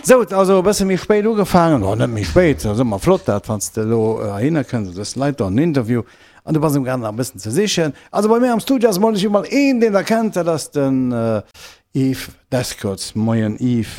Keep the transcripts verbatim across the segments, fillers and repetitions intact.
Sou, also e bësse méi spéit ugefaangen, oh net méi spéit, ass ëmmer flott dat, wann s de elo heihinner kënns, du dës Leit do an den Interview an du bass am gaangen nach e bëssen ze sichen. Also bei mir am Studio ass emol emol een, deen der kennt, dat ass den Yves Descotes. Moien Yves.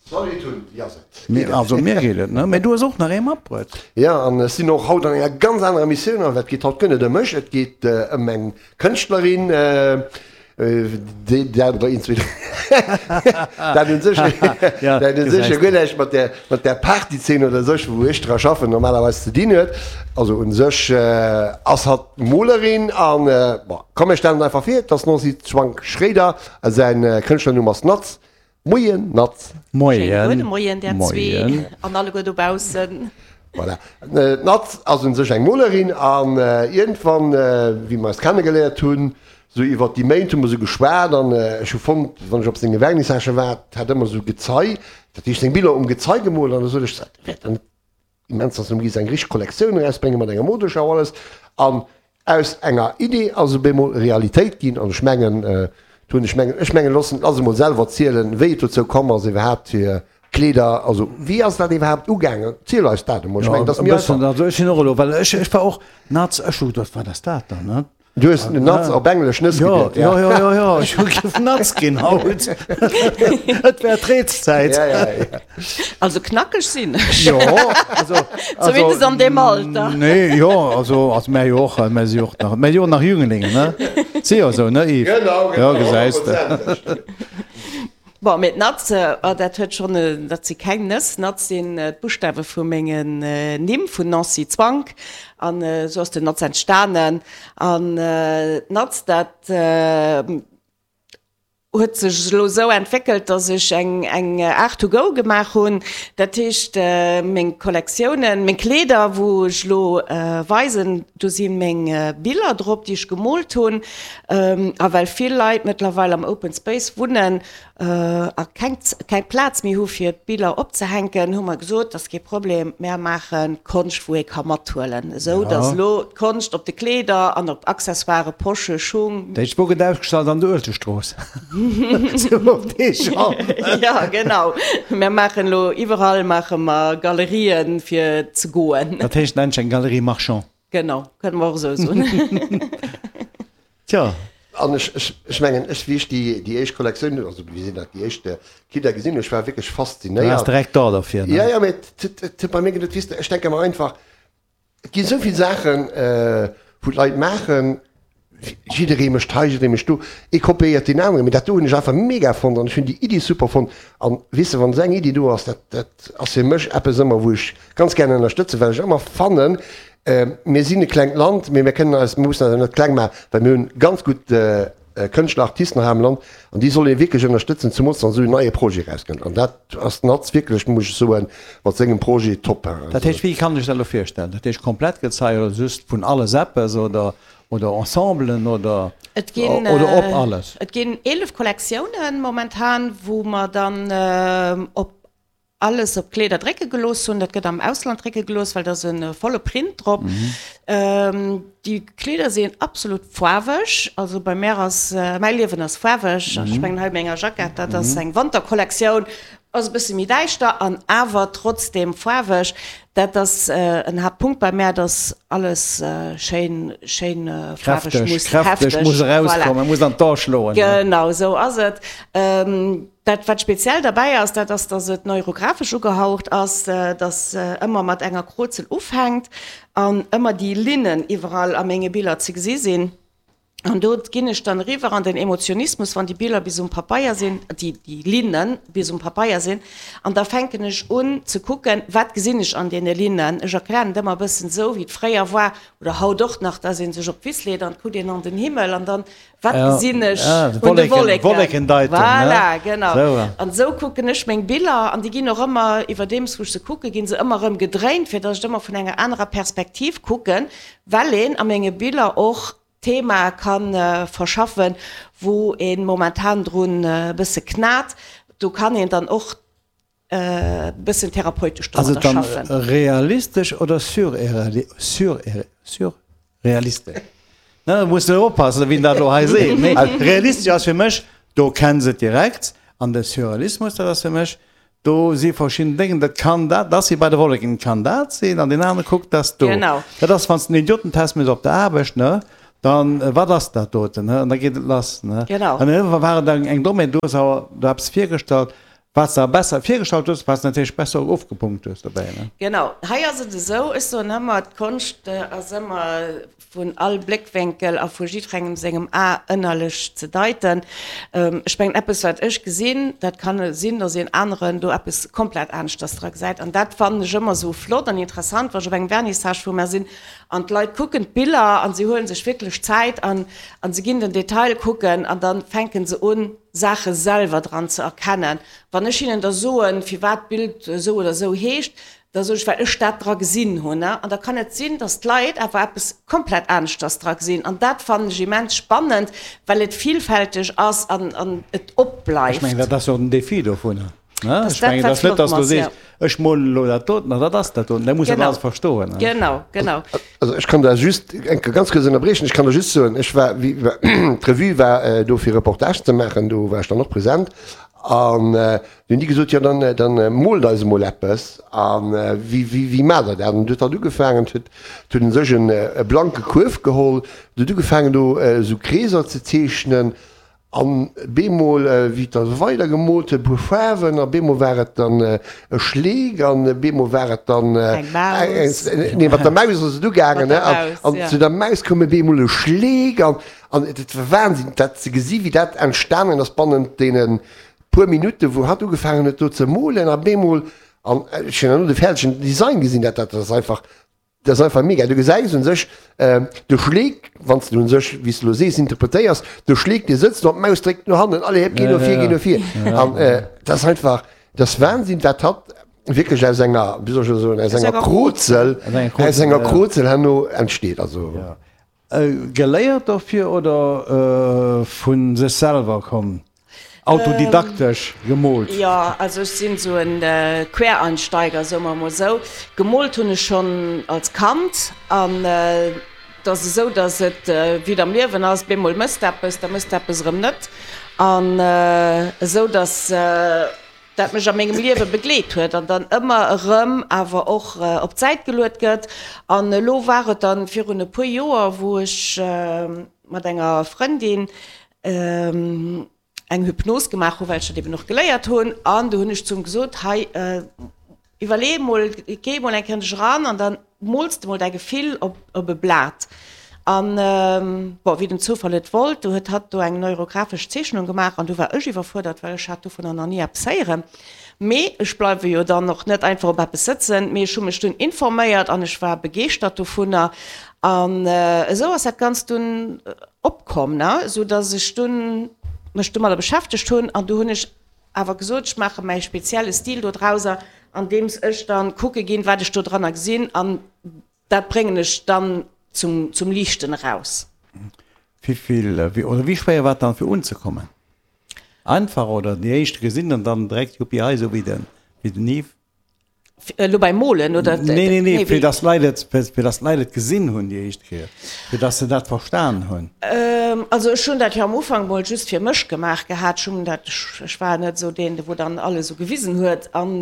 Salut Tun, wéi ass et? Mir, also mir geet et, ne? Mee du hues och nach ee matbruet. Jo, an ech sinn och haut an enger ganz anerer Missioun, an dat geet haut guer net ëm mech, et geet ëm eng Kënschtlerin, déi dat oder een, zwee, dat un sech, dat un sech jo guer näischt mat där, mat där Partyzeen oder sech, wou ech dra schaffen, normalerweis ze dinn huet. Also un sech ass hatt Molerin an, bon, komm mir stellen et einfach vir, et ass d'Nancy Schwank-Schroeder a säin Kënschtlernumm ass Natz. Moien Natz. Moien. Schéine gudde Moien där zwee an alleguer dobaussen. Voilà. D'Natz ass un sech eng Molerin an iergendwann, wéi mer eis kennegeléiert hunn, sou iwwert déi Méint hu mer sou geschwat an ech hu fonnt, wann ech op senge Vernissagë war, hat ëmmer sou Gezei, dat heescht seng Biller um Gezei gemoolt an da sot ech, dat wär dann immens, dass en géif eng richteg Kollektioun erausbréngen mat enger Modeschau alles. An aus enger Idee ass op eemol Realitéit ginn an ech mengen, do hunn ech mengen, ech mengen, loossen, lass emol selwer zielen, wéi et dozou komm ass iwwerhaapt fir Kleeder, also wéi ass dat iwwerhaapt ugaangen? Ziel eis dat emol, ech mengen, dat ass méi einfach. Also ech sinn och elo, well ech, ech war och Nuts, ech hu geduecht, wat ass dat dann, ne? Du hues Nuts op Englesch Nëss geduet, ja? Jo, jo, jo, jo, ech hu giff Nuts ginn haut. Et wär d'Reetszäit. Ja, ja, ja. Also knackeg sinn ech. Jo, also, also. Zumindest an deem Alter. Nee, jo, also, also mär jo och, mär si jo och nach, mär si jo och nach Jüngelinge, ne? Si jo esou, ne Yves? Genau, genau. Jo, gesäis de. Bon, mee d'Natz, oh, dat huet schonn, dat si keng Nëss. Natz sinn d'Buschtawe vu mengen Nimm, vun Nancy Zwank. An esou ass den Natz entstanen. An d'Natz, dat huet sech elo esou entwéckelt, dass ech eng, eng Art to go gemaach hunn. Dat heescht, meng Kollektiounen, meng Kleeder, wou ech elo weisen, do si meng Biller drop, déi ech gemoolt hunn. A well vill Leit mëttlerweil am Open Space wunnen a keng keng Plaz méi hu fir d'Biller opzehänken, hu mer gesot, dat ass kee Problem, mär maache Konscht wou ee ka mathuelen, esou datt elo d'Konscht op de Kleeder an op Accessoiren, Posche, Schung. Dat heescht, wou gëtt ausgestallt? An der Uelzechtstrooss? Sou op dee Genre. Jo, genau. Mär maachen elo iwwerall maache mer Galerien fir ze goen. Dat heescht nennt sech eng Galerie marchand. Genau, kënne mer och esou soen. Tja. An ech, ech, ech mengen, ech, wéi ech déi, déi éischt Kollektioun, also wéi sinn dat, déi éischt Kidder gesinn hunn, ech war wierklech Du faszinéiert. waars direkt da derfir, ne? Ja, ja, mee et, et, et huet bei mir geduet, weess de, ech denke mer einfach, et gi esou vill Saachen, wou d'Leit maachen, jidderee mécht hei, jidderee mécht do, ee kopéiert deen aneren, mee dat do hunn ech einfach mega fonnt an ech hunn déi Iddi super fonnt. An, weess de, wann esou eng Iddi do ass, dat, dat ass fir mech eppes ëmmer, wou ech ganz gär ënnerstëtzen, well ech ëmmer fannen, Mir sinn e klengt Land, mee mir kënnen eis, mir mussen eis awer net kleng maachen, well mir hunn ganz gutt Kënschtler, Artisten hei am Land an déi soll ee wierklech ënnerstëtzen, zemools wann esou en neie Projet erauskënnt. An dat ass den Atz wierklech, muss ech soen, mat sengem Projet top. Dat heescht, wéi kann ech dat elo virstellen? Dat heescht komplett Gezei oder just vun alles eppes oder oder Ensemblen oder Et ginn, oder op alles? Et ginn eelef Kollektiounen momentan, wou mer dann op alles op Kleeder drécke gelooss hunn. Dat gëtt am Ausland drécke gelooss, well da ass e volle Print drop. Déi Kleeder sinn absolut faarweg. Also bei mär ass, mäi Liewen ass faarweg. Ech mengen hei op menger Jackett, dat ass eng Wanterkollektioun, ass e bësse méi däischter an awer trotzdeem faarweg. Dat ass en Haaptpunkt bei mär, dass alles schéin, schéin faarweg muss, kräfteg muss erauskommen, muss an d'A schloen. Genau esou ass et. Dat wat speziell derbäi ass, dat ass, dass et neurographesch ugehaucht ass, dass ëmmer mat enger Krozel ufänkt an ëmmer déi Linnen iwwerall a menge Biller ze gesi sinn. An do ginn ech dann eriwwer an den Emotionismus, wann déi Biller bis um Papeier sinn, déi déi Linne bis um Papeier sinn. An da fänken ech un ze kucken, wat gesinn ech an deene Linnen. Ech erklären et ëmmer e bëssen esou, wéi et fréier war oder haut och nach, dass ee sech op d'Wiss leet an et kuckt een an den Himmel an dann Wat gesinn ech un de Wolleken? Voilà, genau. An esou kucken ech meng Biller an déi ginn och ëmmer, iwwerdeems wou ech se kucken, gi se ëmmer erëm gedréint, fir datt ech et ëmmer vun enger anerer Perspektiv kucken, well een a menge Biller och Themae ka verschaffen, wou ee momentan drun e bësse knat. Do kann een dann och e bëssen therapeutesch Ass et domadder dann schaffen. realistesch oder surrealistesch? Ne, muss de oppassen, wien dat elo hei seet. Mee realistesch ass fir mech, do kenns et direkt. An de Surrealismus, dat ass fir mech, Do si verschidden Déngen, dat kann dat, dat si bei de Wolleken, kann dat sinn, an deen anere kuckt dat do. Genau. Dat ass, wann s de en Idiotentest méchs op der Aarbecht, ne, dann, wat ass dat doten, ne, an da geet et lass, ne. Genau. An iergendwann war et eng, eng Domaine, du hues awer do eppes virgestallt, wat s de awer besser virgestallt hues, wat s de natierlech besser och ofgepunkt hues dobäi, ne. Genau. Hei ass et esou, ech soen ëmmer, d'Konscht ass ëmmer vun all Bléckwénkel a vu jiddwerengem sengem A ënnerlech ze deiten. Ech mengen, eppes, wat ech gesinn, dat kann sinn, datt een aneren do eppes komplett aneschters dra gesäit. An dat fannen ech ëmmer esou flott an interessant, wa ech op engem Vernissage vu mär sinn an d'Leit kucken d'Biller an si huele sech wierklech Zäit an a se ginn den Detail kucken an da fänke se un, Saache selwer dran ze erkennen. Wann ech hinnen da soen, firwat d'Bild esou oder esou heescht, Da soen ech, well ech dat dra gesinn hunn. An da kann et sinn, datt d'Leit awer eppes komplett aneschters dra gesinn. An dat fannen ech immens spannend, well et villfälteg ass an an et op Ech mengen, bleift. dat ass jo och den Défi dovunner, ne? Dass Ech dat, mengen, et wat ass net, flott datt s du ass, sees, jo. ech molen elo dat doten an dat ass dat doten. Da muss dat Genau, alles verstoen, ne? genau, genau. Also ech kann da just eng Kéier ganz kuerz ënnerbriechen. Ech kann der just soen, ech war, wéi d'Revue war do fir Reportagen ze maachen, do war ech dann och present. An du hunn déi gesot, jo dann, dann moolt eis emol eppes. A wéi, wéi, wéi maacht der dat? An du huet hatt ugefaangen, huet, huet en sech en e blanke Kuerf geholl, du huet ugefaangen do esou Kreeser ze zeechnen. An bemol, wéi et da weider gemoolt huet, e puer Faarwen, a bemol war et dann e Schleek, an bemol war et dann Eng Maus. Nee, mat der Maus ass et ugaangen, Mat der ne? Maus, An ja. zu der Maus koum e bemol e Schleek. An, an et war Wahnsinn, dat ze gesi wéi dat entstanen ass bannent deene puer Minutten, wou hatt ugefaangen huet do ze molen a bemol, an ech hunn herno de fäerdegen Design gesinn, dat dat ass einfach, dat ass einfach mega. Du gesäis un sech de Schleek, wann s de un sech, wéi s de elo sees, interpretéiers, de Schleek dee sëtzt do an d'Maus dréckt no hannen, allez hépp, géi no vir, géi no vir. An dat ass einfach, dat ass Wahnsinn, wat hatt wierklech aus enger, wéi soll ech elo soen, aus enger Krozel, aus enger Krozel herno entsteet. Also. Geléiert dofir oder vu sech selwer komm, autodidaktesch gemoolt? Jo, also ech sinn esou e Quereinsteiger, soe mer emol esou. Gemoolt hunn ech schonn als Kand an et ass esou, datt et wéi et am Liewen ass, bemol mëss de eppes, da mëss de eppes erëm net an esou datt dat mech a mengem Liewe begleet huet an dann ëmmer erëm awer och op d'Säit geluet gëtt. An elo war et dann virun e puer Joer, wou ech mat enger Frëndin eng Hypnos gemaach hunn, well ech dat eben och geléiert hunn. An du hunn ech zum gesot, hei iwwerlee emol, géi emol eng Kéier an dech eran an dann mools de mol däi Gefill op op e Blat. An, bon, wéi den Zoufall et wollt, du huet hatt do eng neurographesch Zeechnung gemaach an du war ech iwwerfuerdert, well ech hat dovunner nach ni eppes héieren. Mee ech bleiwe jo dann och net einfach op eppes sëtzen, mee ech hu mech dunn informéiert an ech war begeeschtert dovunner. An esou ass dat Ganzt dunn opkomm, ne, esou dass ech dunn mech domadder beschäftegt hunn an du hunn ech awer gesot, ech maache mäi spezielle Stil dodrauser, andeems ech dann kucke ginn, wat ech dodranner gesinn an dat bréngen ech dann zum, zum Liichten eraus. Wéi vill, oder wéi schwéier war et dann fir unzekommen? Einfach oder déi éischt gesinn an dann direkt Juppi hei, esou wéi den, wéi den Yves? Elo beim Molen oder? Nee, nee, nee, fir dass d'Leit et, fir dass d'Leit et gesinn hunn déi éischt Kéier, fir dass se dat verstan hunn. Also ech hunn dat jo am Ufank mol just fir mech gemaach gehat. Ech hunn dat, ech war net esou deen, wou dann alles esou gewisen huet. An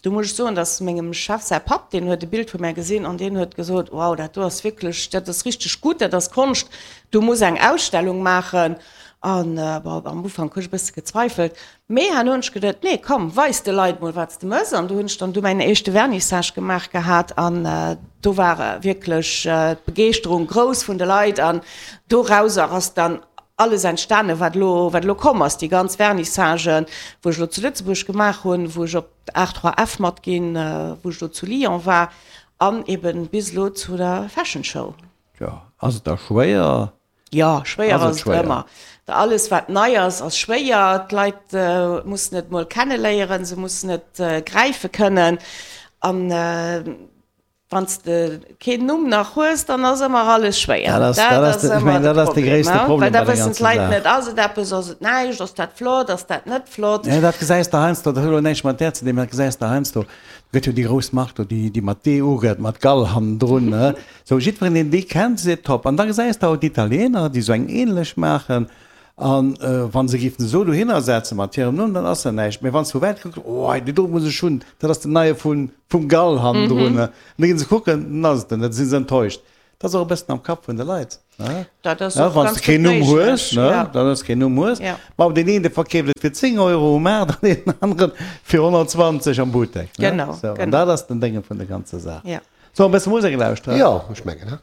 do muss ech soen, dass mengem Chef säi Papp, deen huet e Bild vu mär gesinn an deen huet gesot, Wow, dat do ass wierklech, dat ass richteg gutt, dat ass Konscht, du muss eng Ausstellung maachen. An bon, am Ufank hu ech e bësse gezweifelt, mee herno hunn ech geduet, nee komm, weis de Leit mol wat s de mëss. An do hunn ech dann du mäin éischte Vernissage gemaach gehat an do war wierklech d'Begeeschterung grouss vun de Leit an dorauser ass dann alles entstanen, wat elo, wat elo komm ass, déi ganz Vernissagen, wou ech elo zu Lëtzebuerg gemaach hunn, wou ech op d'Art trois F matginn, wou ech elo zu Lyon war an eben bis elo zu der Fashion Show. Jo, ass et da schwéier? Jo, schwéier ass et ëmmer. Alles wat nei ass, ass schwéier. D'Leit mussen et mol kenneléieren, se mussen et gräife kënnen. An wann s de keen Numm nach hues, dann ass ëmmer alles schwéier. Dat ass ëmmer de gréisste Problem. Well da wëssen d'Leit net, ass et eppes, ass et näischt, ass dat flott, ass dat net flott. Jo, dat gesäis de heiansdo, dat huet elo näischt mat där ze dinn, mä dat gesäis de heiansdo, gëtt jo déi grouss Mark do, déi, déi mat D ugeet, mat Gall hannendrun, ne? Sou, jiddwereen, deen déi kennt, seet top. An da gesäis de awer d'Italiener, déi sou eng ähnlech maachen, An wa se géifen esou dohinner setzen mat hirem Numm, dann ass dat näischt. Mee wann s du vu wäit kucks, oh deen do muss ech hunn, dat ass den neie vun, vum Gall hannendrun. An da ginn se kucken, dann ass et en, da si se enttäuscht. Dat ass och e bëssen am Kapp vun de Leit, ne? Dat ass och Wann s ganz de keen gutt Numm hues, méiglech, ne, ja. dann s keen Numm hues. Ja. Ma deen een, dee verkeeft et fir zéng Euro um Maart an deen aneren fir honnertzwanzeg am Buttek, ne? Genau, Sou, an genau. dat ass den Dénge vun der ganzer Saach. Ja. Solle mer e bësse Musek lauschteren? Jo, ech mengen, he?